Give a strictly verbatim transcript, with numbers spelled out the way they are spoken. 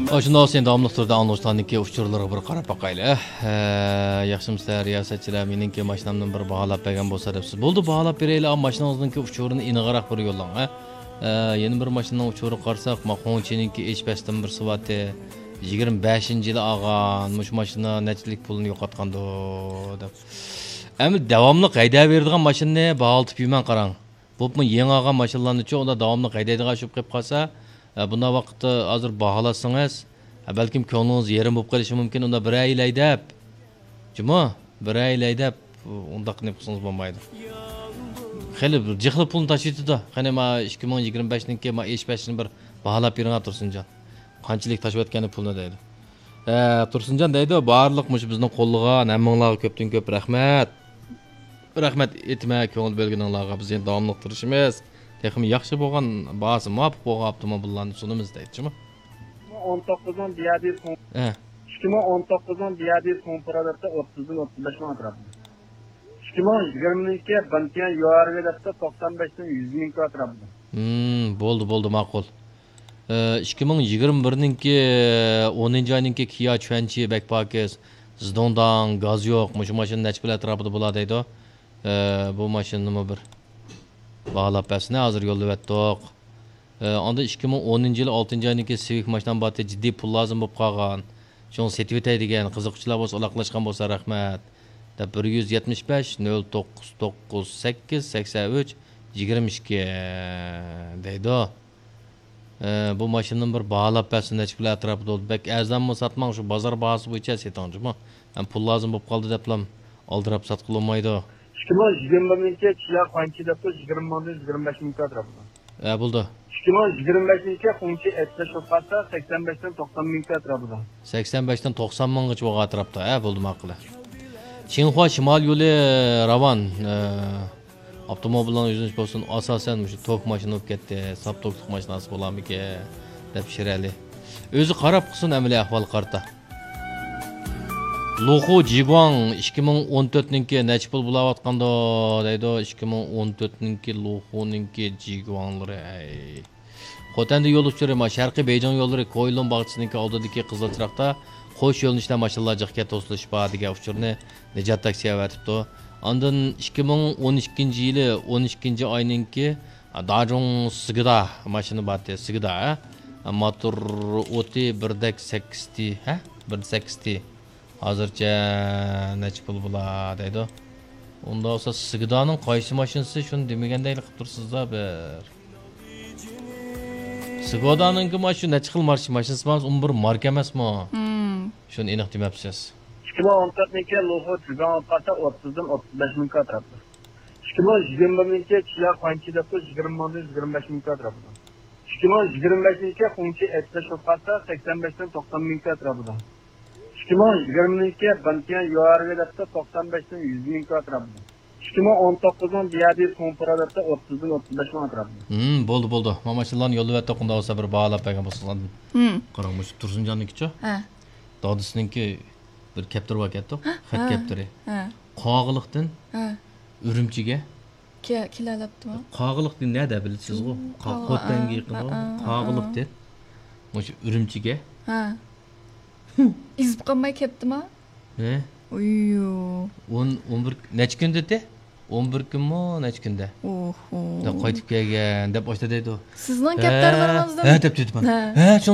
ئاشۇنداق بولسا، داۋاملىق تۈردە ئاڭلىغۇچىلارنىڭكى ئۇچۇرلىرىغا بىر قاراپ باقايلى. ھە، ياخشىمۇسىلەر، رىياسەتچىلەر؟ مېنىڭكى ماشىنامنى بىر باھالاپ بەرگەن بولسا دەپسىز. بولدى، باھالاپ بېرەيلى. ئا، ماشىنىڭىزنىڭكى ئۇچۇرىنى ئېنىقراق بىر يوللاڭ، ھە. ھە، يەنە بىر ماشىنىنىڭ ئۇچۇرىغا قارىساق، ما، خۇڭچىنىڭكى ئېچ پەستىن بىر سىۋاتى، يىگىرمە بەشىنچى يىلى ئالغان، مۇشۇ ماشىنا نەچچىلىك پۇلنى يوقاتقاندۇ دەپ. ئەمدى داۋاملىق ھەيدەۋېرىدىغان ماشىنىنى باھالىتىپ يۈرمەڭ، قاراڭ. بولۇپمۇ يېڭى ئالغان ماشىنىلارنىچۇ، ئۇنداق داۋاملىق ھەيدەيدىغان ئىش بولۇپ قېلىپ قالسا، ئە، بۇنداق ۋاقىتتا ھازىر باھالاتسىڭىز، ئە، بەلكىم كۆڭلىڭىز يېرىم بولۇپ قېلىشى مۇمكىن. ئۇنداق بىرەر يىل ھەيدەپ، جۇمۇ، بىرەر يىل ھەيدەپ، ئۇنداق نېمە قىلسىڭىز بولمايدۇ. خېلى بىر جىقلا پۇلنى تاشلىۋېتىدۇ. قېنى، ما، ئىككى مىڭ يىگىرمە بەشنىڭكى، ما، ئېچ پەستىن بىر باھالاپ بېرىڭە، تۇرسۇنجان. قانچىلىك تاشلىۋەتكەننى پۇلنى دەيدۇ. ھە، تۇرسۇنجان دەيدۇ، بارلىق مۇشۇ بىزنىڭ قوللىغان، ھەممىڭلارغا كۆپتىن كۆپ رەھمەت. رەھمەت ئېيتىمەن كۆڭۈل بۆلگىنىڭلارغا، بىز يەنە داۋاملىق تىرىشىمىز. تېخىمۇ ياخشى بولغان، باھاسى مۇۋاپىق بولغان ئاپتوموبىللارنى سۇنىمىز دەيدۇ، جۇمۇ. ئون توققۇزنىڭ دىيادى سوڭ، ھە. ئىككى مىڭ ئون توققۇزنىڭ دىيادى سوڭ پۇرا دەپتۇ، ئوتتۇزدىن ئوتتۇز بەش مىڭ ئەتراپىدا. ئىككى مىڭ يىگىرمىنىڭكى بەنتيەن يۇئارۋې دەپتۇ، توقسان بەشتىن يۈز مىڭ ئەتراپىدا. ھىم، بولدى، بولدى، ماقۇل. ئىككى مىڭ يىگىرمە بىرنىڭكى ئونىنچى ئاينىڭكى كىيا چۈەنچى بەك پاكىز. زىدوڭداڭ، گاز يوق، مۇشۇ ماشىنا نەچچە پۇل ئەتراپىدا بولا دەيدۇ. ئە، بۇ ماشىنىنىمۇ بىر باھالاپ بەرسىنە، ھازىر يوللىۋەتتۇق. ئە، ئاندىن ئىككى مىڭ ئونىنچى يىلى ئالتىنچى ئاينىڭكى سىۋىك ماشىنام بارتى، جىددىي پۇل لازىم بولۇپ قالغان. شۇڭا سېتىۋېتەي دېگەن، قىزىققۇچىلار بولسا ئالاقىلاشقان بولسا رەھمەت. دەپ بىر يۈز يەتمىش بەش، نۆل توققۇز توققۇز سەككىز، سەكسەن ئۈچ، يىگىرمە ئىككى دەيدۇ. ئە، بۇ ماشىنىنى بىر باھالاپ بەرسە نەچچە پۇل ئەتراپىدا بولىدۇ. بەك ئەرزانمۇ ساتماڭ، شۇ بازار باھاسى بويىچە سېتىڭ جۇمۇ. ھەم پۇل لازىم بولۇپ قالدى دەپلام ئالدىراپ ساتقىلى بولمايدۇ. ئىككى مىڭ يىگىرمە بىرنىڭكى چىيا خۇاڭچى دەپتۇ، يىگىرمە مىڭدىن يىگىرمە بەش مىڭ ئەتراپىدا. ھە، بولدى. ئىككى مىڭ يىگىرمە بەشىنچى خۇڭچى ئەتلەش بولۇپ قالسا، سەكسەن بەشتىن توقسان مىڭ ئەتراپىدا. سەكسەن بەشتىن توقسان مىڭغىچە بولغان ئەتراپتا. ھە، بولدى، ماقۇل. چىڭخۇا شىمال يولى راۋان. ئە، ئاپتوموبىللارنىڭ يۈزلىنىشى بولسۇن، ئاساسەن مۇشۇ توك ماشىنا بولۇپ كەتتى، ساپ توكلۇق ماشىناسى بولارمىكىن دەپ شىرئەلى ئۆزى قاراپ قىلسۇن ئەمەلىي ئەھۋالغا قارىتا. لۇخۇ جىگۇاڭ ئىككى مىڭ ئون تۆتنىڭكى نەچچە پۇل بولاۋاتقاندۇ دەيدۇ، ئىككى مىڭ ئون تۆتنىڭكى لۇخۇنىڭكى جىگۇاڭلىرى، ئەي. خوتەندە يول ئۇچۇرى، ما، شەرقىي بېيجىڭ يوللىرى، كويلۇن باغچىسىنىڭكى ئالدىدىكى قىزىل چىراغدا قوش يۆنىلىشتە ماشىنىلار جىق ئىكەن، توسۇلۇش بار دېگەن ئۇچۇرنى نىجات تاكسى ئەۋەتىپتۇ. ئاندىن ئىككى مىڭ ئون ئىككىنچى يىلى ئون ئىككىنچى ئاينىڭكى داجۇڭ سىگىدا ماشىنا بارتى، سىگىدا، ھە؟ موتور ئوتى بىردەك سەككىز تى، ھە؟ بىردە سەككىز تى. ھازىرچە نەچچە پۇل بولا دەيدۇ. ئۇنداق بولسا سىگىدانىڭ قايسى ماشىنىسى، شۇنى دېمىگەندەكلا قىلىپ تۇرسىزدا بىر. سىگودانىڭكى مانا شۇ نەچچە خىل ماش-، ماشىنىسى بار، ئۇمۇ بىر ماركا ئەمەسمۇ؟ مم. شۇنى ئېنىق دېمەپسىز. ئىككى مىڭ ئون تۆتنىڭكى لۇخۇ جىگاڭ ئوتقاسا ئوتتۇزدىن ئوتتۇز بەش مىڭ ئەتراپىدا. ئىككى مىڭ يىگىرمە بىرنىڭكى چىيا خۇاڭچى دەپتۇ، يىگىرمە مىڭدىن يىگىرمە بەش مىڭ ئەتراپىدا. ئىككى مىڭ يىگىرمە بەشىنچى خۇڭچى ئەتلەش ئوتقاسا سەكسەن بەشتىن توقسان مىڭ ئەتراپىدا. ئىككى مىڭ يىگىرمىنىڭكى بەنتيەن يۇئارۋې دەپتۇ، توقسان بەشتىن يۈز مىڭ ئەتراپىدا. ئىككى مىڭ ئون توققۇزنىڭ دىيادى سوڭپىرا دەپتۇ، ئوتتۇزدىن ئوتتۇز بەش مىڭ ئەتراپىدا. ھىم، بولدى، بولدى. مانا ماشىنىلارنى يوللىۋەتتۇق، ئۇنداق بولسا بىر باھالاپ بەرگەن بولسىڭىز ئاندىن. ھىم. قاراڭ، مۇشۇ تۇرسۇنجاننىڭكىچۇ؟ ھە. دادىسىنىڭكى بىر كەپتىرى باركەنتۇ، خەت ھە، كەپتىرى. ھە. قاغىلىقتىن ھە. ئۈرۈمچىگە. كە-، كېلەلەپتىما؟ قاغىلىقتىن نەدە بىلىسىزغۇ؟ قا-، قاغا-، خوتەنگە ھە، يېقىنغۇ. ھە، ھە، قاغىلىقتىن. ھە. مۇشۇ ئۈرۈمچىگە. ھە. ئېزىپ قالماي كەپتىما؟ ھە؟ ئويۇ. ئون، ئون بىر، نەچچە كۈن دېدى؟ ئون بىر كۈنمۇ، نەچچە كۈندە؟ ئوھو. قايتىپ كەلگەن دەپ ئاشتا دەيدۇ. سىزنىڭ ھە، كەپتەرلىرىڭىزدىن ھە دەپ تېتىپمەن. ھە. ھە، شۇ